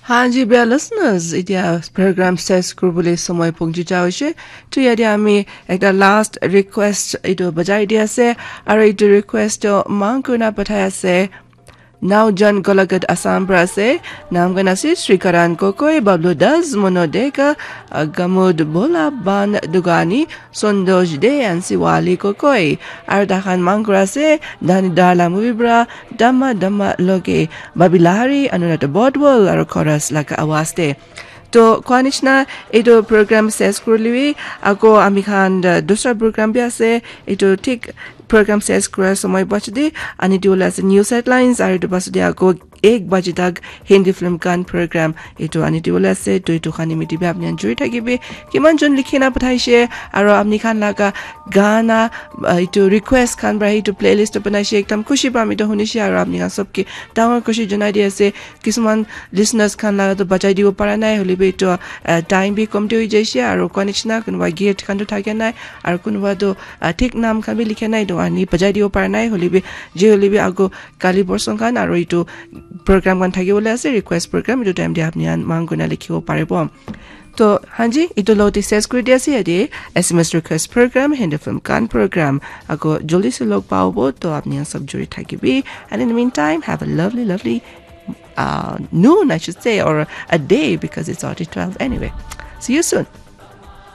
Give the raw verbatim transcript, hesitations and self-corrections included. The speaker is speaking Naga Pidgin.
Hanji bia listeners, itia program ses kurbule somoi pongji jao she. Tu yadi ami ekta last request itu bajai dia se. Aro itu request to mang kuna pathai ase. Now John Golagat Assam pra ase. Nam gan ase Sri Karan Kokoi, Bablu Das, Mono Deka, Gamud Bola, Ban Dugani, Sondosh De, and Siwali Kokoi. Aro dahan mang kura ase. Dani Darla movie pra, Dama Dama Loge, Babilahari, Anunata Bodwal, aro chorus laga awaz te. To kwa nishna, etu program ses kurliwi, ako ami khan dusra program bi ase, etu thik program ses kura somoi bachdi, ani diwole ase news headlines, aro etu pasde ako ek baji tak Hindi film khan program etu ani diwole ase. To etu khan imiti bi apni khan juri thakibi. Kiman jon likhi na pathaise, aro apni khan laga gana, etu request khan pra etu playlist to banaise, ekdam khushi pa ami to hunishe, aro apni khan sob ke dangor khushi janai di ase. Kisuman listeners khan laga to bajai dibo para nai, hoilebi to time bi kom te hoi jaise, aro kwa nishna kunuba gift khan to thake nai, aro kunuba to thik nam khan bi likhe nai, to ani bajai dibo para nai, hoilebi je hoilebi ako kali borsong khan aro etu program khan thaki bole ase, request program, etu time te apni khan mang kuna likhibo paribo. To hanji, etu lo te ses kuri di ase yate S M S request program, Hindi film khan program. Ako joldi se log pabo, to apni khan sob juri thakibi. And in the meantime, have a lovely, lovely uh, noon, I should say, or a day because it's already twelve anyway. See you soon.